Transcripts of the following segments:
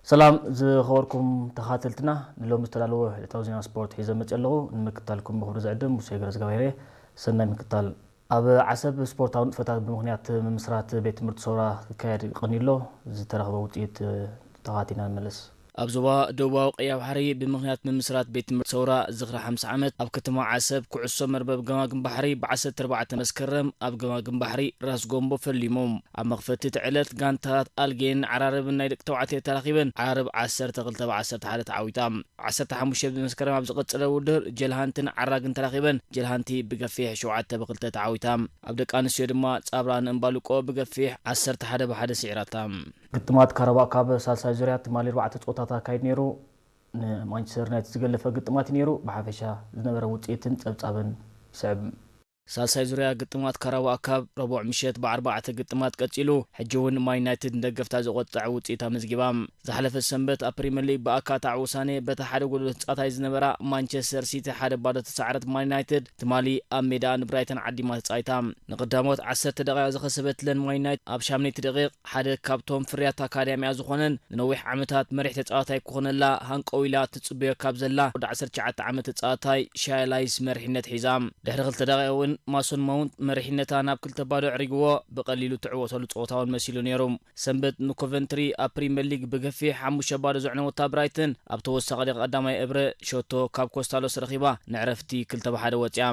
ሰላም ዝኸበርኩም ተኻተልትና፣ ንሎሚ ዝተዳለወ ዕለታዊ ዜና ስፖርት ሒዘ መፅእ ኣለኹ። ንምክታልኩም ብኽብሪ ዝዕድም ሙሴ ገረዝጋብሄር እየ። ሰናይ ምክታል። ኣብ ዓሰብ ስፖርታዊ ንጥፈታት ብምኽንያት ምምስራት ቤት ትምህርቲ ሰውራ ክካየድ ቀኒሎ ዝተረኽበ ውፅኢት ተኻቲና ንመለስ። ኣብ ዞባ ደቡባዊ ቀይሕ ባሕሪ ብምኽንያት ምምስራት ቤት ትምህርቲ ሰውራ ዝኽሪ ሓምሳ ዓመት ኣብ ከተማ ዓሰብ ኩዕሶ መርበብ ገማግም ባሕሪ ብ ዓሰርተ ኣርባዕተ መስከረም ኣብ ገማግም ባሕሪ ራስ ጎምቦ ፈሊሙ። ኣብ መኽፈቲ እቲ ዕለት ጋንታት ኣልጌን ዓራርብን ናይ ደቂ ተባዕትዮ ተራኺበን ዓራርብ ዓሰርተ ክልተ ብ ዓሰርተ ሓደ ተዓዊታ። ዓሰርተ ሓሙሽተ መስከረም ኣብ ዝቐጸለ ውድድር ጀልሃንትን ዓራግን ተራኺበን ጀልሃንቲ ብገፊሕ ሸውዓተ ብ ክልተ ተዓዊታ። ኣብ ደቂ ኣንስትዮ ድማ ጻብራን እምባልቆ ብገፊሕ ዓሰርተ ሓደ ብ ሓደ ስዒራታ። ግጥማት ካራባኦ ካፕ ሳልሳይ ዙርያ ትማሊ ኣርባዕተ ጸወታታት ኣካይዱ ነይሩ። ንማንቸስተር ዩናይትድ ዝገለፈ ግጥማት እዩ ነይሩ። ብሓፈሻ ዝነበረ ውጽኢትን ጸብጻብን ይስዕብ። ሳልሳይ ዙርያ ግጥማት ካራባኦ ካፕ ረቡዕ ምሸት ብኣርባዕተ ግጥማት ቀጺሉ፣ ሕጂ እውን ማን ዩናይትድ ንደገፍታ ዘቖጥዐ ውጽኢት ኣመዝጊባ። ዝሓለፈ ሰንበት ኣብ ፕሪምየር ሊግ ብኣካ ኣታዒ ውሳነ በታ ሓደ ጎደሎ ትጻወት ዝነበራ ማንቸስተር ሲቲ ሓደ ባዶ ተሳዕረት ማን ዩናይትድ ትማሊ ኣብ ሜዳ ንብራይተን ዓዲማ ተጻዊታ። ንቐዳሞት ዓሰርተ ደቂቕ ዝኸሰበትለን ማን ዩናይትድ ኣብ ሻምነይቲ ደቂቕ ሓደ ካብቶም ፍርያት ኣካዳሚኣ ዝኾነን ንነዊሕ ዓመታት መሪሕ ተጻዋታይ ክኾነላ ሃንቀው ኢላ ትጽበዮ ካብ ዘላ ወዲ ዓሰርተ ትሽዓተ ዓመት ተጻዋታይ ሻይ ላይስ መሪሕነት ሒዛ። ድሕሪ ክልተ ደቂቕ እውን ማሶን ማውንት መሪሕነታ ናብ ክልተ ባዶ ኣዕሪግዎ ብቐሊሉ ትዕወተሉ ጸወታ እውን መሲሉ ነይሩ። ሰንበት ንኮቨንትሪ ኣብ ፕሪምየር ሊግ ብገፊሕ ሓሙሽተ ባዶ ዘዕነወታ ብራይተን ኣብ ተወሳኺ ደቂቕ ቀዳማይ እብረ ሸቶ ካብ ኮስታሎስ ረኺባ ንዕረፍቲ ክልተ ብ ሓደ ወጺኣ።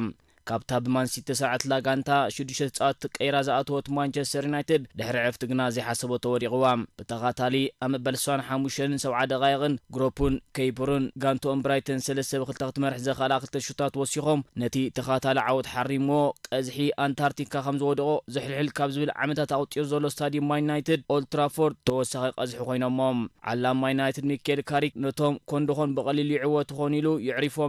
ካብታ ብማንሲቲ ዝተሰርዐትላ ጋንታ ሽዱሽተ ተጻወትቲ ቀይራ ዝኣተወት ማንቸስተር ዩናይትድ ድሕሪ ዕረፍቲ ግና ዘይሓሰበቶ ወዲቕዋ። ብተኻታሊ ኣብ መበል ስሳን ሓሙሽተን ሰብዓ ደቓይቕን ግሮፑን ከይፕሩን ጋንትኦም ብራይተን ሰለስተ ብ ክልተ ክትመርሕ ዘኽኣላ ክልተ ሹታት ወሲኾም ነቲ ተኻታሊ ዓወት ሓሪምዎ ቀዝሒ ኣንታርክቲካ ከም ዝወደቖ ዝሕልሕል ካብ ዝብል ዓመታት ኣቑጺሩ ዘሎ ስታድዩም ማን ዩናይትድ ኦልድ ትራፎርድ ተወሳኺ ቀዝሒ ኮይኖሞ። ዓላም ማን ዩናይትድ ሚኬል ካሪክ ነቶም ኮንዶኾን ብቐሊሉ ይዕወቱ ኾን ኢሉ የዕሪፎም።